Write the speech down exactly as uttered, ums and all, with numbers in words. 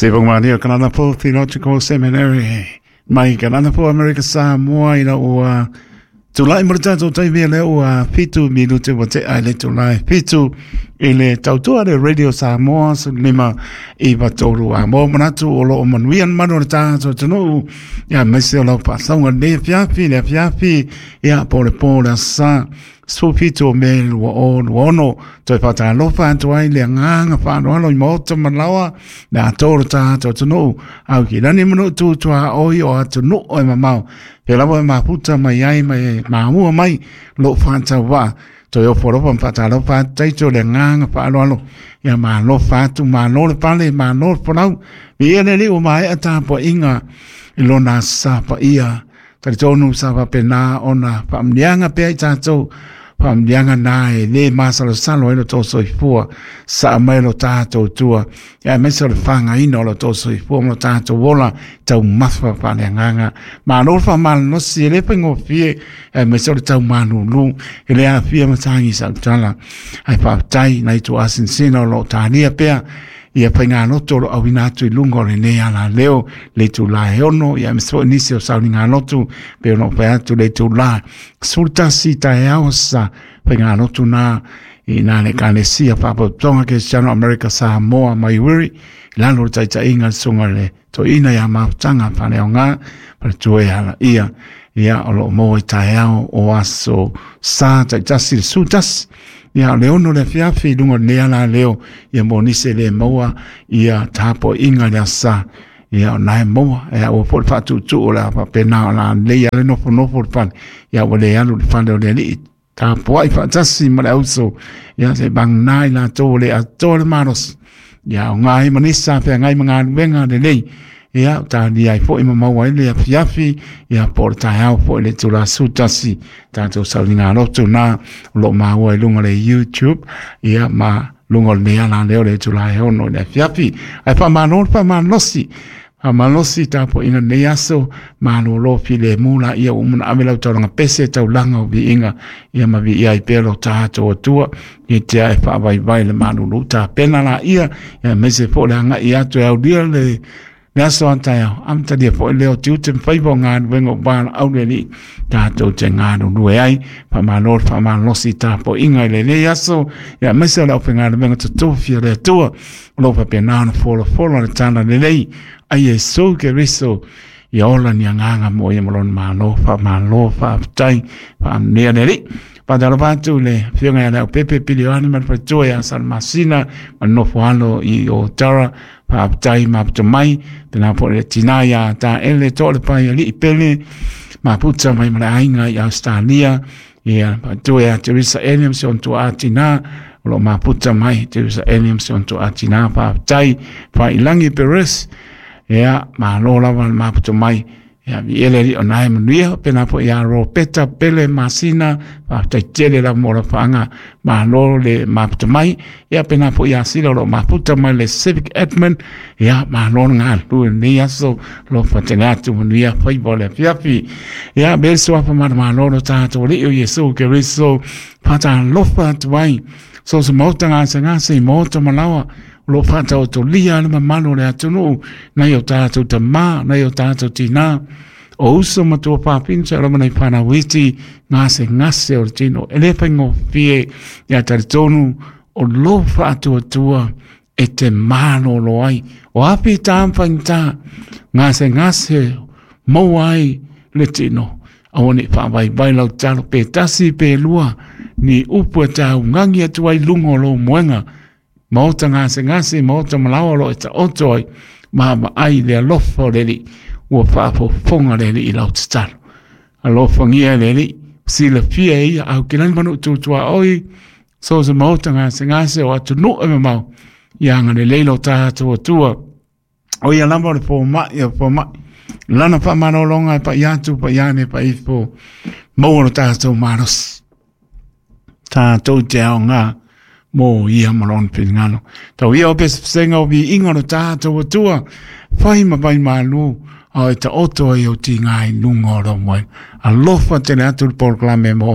Sivagomalia Kananapo Theological Seminary mai Kananapo Amerika Samoa ina ua tulai mo le tatou taimi lea ua fitu minute ua tea i le itula e fitu i le tautua le Radio Samoa sefululima iva tolu a mo manatu o loo manuia le manu o le tatou atunuu ia aemaise o lau faasauga lenei afiafi le afiafi ia po o le po o le aso Sa sefulu fitu o Me lua o lua ono. Toe faatalofa atu ai le agaga faaaloalo i maota ma laoa le atoa o le tatou atunuu au kilani ma nuu tutuaoi o atunuu e mamao pe lava e mafuta mai ai ma e mamua mai lou faatauvaa. Toe ofo alofa ma faatalofa atu taito le agaga faaaloalo ia malofa atu malo le pale malo le folau viia le Alii ua maea tapuaiga i lona Aso Sa paia. Talitonu sa faapena ona faamuniaga pea i tatou faamuniaga na e lē masalosalo ai lo tou soifua saa mai lo tatou tua ia aemaise o le fagaina o lo tou soifua ma lo tatou ola taumafa faaleagaga. Malo le faamalolosi e lē faigofie aemaise o le taumalūlū e le afia ma tagi sautala ae faafetai nai tuasinasina o loo talia pea ia faigalotu o lo auina atu i luga o lenei alaleo le itula e ono ia aemaise foi nisi o sauligalotu pe ona fai atu le itula sefulutasi taeao sa faigalotu na i na le Ekalesia Faalapotopotoga Kerisiano Amerika Samoa mai Wiri i lalo o le taitaiga le susuga le toeaina ia Mafutaga Faaleaoga faletua e ala ia ia o loo maua i taeao o aso Sa taitasi le sefulutasi ia le ono le afiafi i luga o lenei alaleo ia mo nisi e le maua ia tapuaiga le aso Sa ia o nae maua e ua foi le faatuutuu o le a faapena o la lelei ale nofonofo le fale ia ua le alu le fale o le Alii tapuai faatasi ma le auso ia se vagana i latou o le atoa le malosi ia o gai ma nisi sa feagai ma galuega lelei ia talia ai foi ma maua ai le afiafi ia po o le taeao foi le itula sefulutasi tatou sauligalotu na o loo maua i luga o le YouTube ia ma luga o lenei alaleo le itula e ono i le afiafi. Ae faamalo le faamalolosi faamalosi tapuaiga lenei aso malōlō filemu laia ua uma ona ave lau taulaga pese taulaga o viiga ia ma viia ai pea lo tatou Atua ia tea e faavaivai le malūlū tapena laia ia aemaise foi le agai atu e aulia le le aso a taeao amatalia foi lea o tiute ma faiva o galuega o valaau le Alii tatou te galulue ai. Faamalo le faamalolosi tapuaiga i lenei aso ia aemaise o le aufaigaluega totofi a le Atua o loo faapena ona folafolo le tala lelei a Iesu Keriso ia ola ni agaga mo ia ma lona malo. Faamalo, faafetai, faaamunia le Alii. Faatalofa atu le afioga ia Leaupepe Pilioane ma le faletua ia Salamasina ma le nofo alo i o Tara. Faafetai maputa mai pena foi le tina ia Taele Toalepai Alii Pele maputa mai ma le aiga i Australia ia faletua ia Teresa Eliams si ona tuaa tina o loo maputa mai Teresa Eliams si ona tuaa tina. Faafetai Failagi Peres ia malo lava le maputa mai ia viia le Alii o nae manuia pena foi ia Ropeta Pele Masina. Faafetai tele lava mo la faaga malo le maputa mai ia pena foi ia Sila o loo maputa mai le Civic Edmond ia malo le galulue lenei aso lo fatele atu manuia faiva o le afiafi ia be suafa malomalo lo tatou Alii o Iesu Keriso. Faatalofa atu ai so se maota gasegase i maota ma laoa o loo faataotolia le mamalu o le atunuu nai o tatou tamā nai o tatou tinā o uso ma tuafafine sa lava nai fanau iti gasegase o le tino e lē faigofie ia talitonu o lo faatuatua e te malōlō ai o api tā ma faigata gasegase maua ai le tino aua nei faavaivai lau tatalo pe tasi pe lua ni upu e taugagi atu ai luga o lou moega maota gasegase maota malaoa o loo e taoto ai ma vaai le alofa o le Alii ua faafofoga le Alii i lau tatalo alofagia e le Alii silafia e ia aukilani ma nuu tutuaoi so se maota gasegase o atunuu e mamao ia agalelei lo tatou Atua o ia lava o le fomaʻi o fomaʻi lana faamalōlōga e paia atu paia ane paifo maua lo tatou malosi tatou te aogā mo ia ma lona finagalo. Tau ia o pesepesega o viiga o lo tatou Atua fai ma vai malu ao e taoto ai o tiga i luga o lou moega. Alofa tele atu le polokalame mo.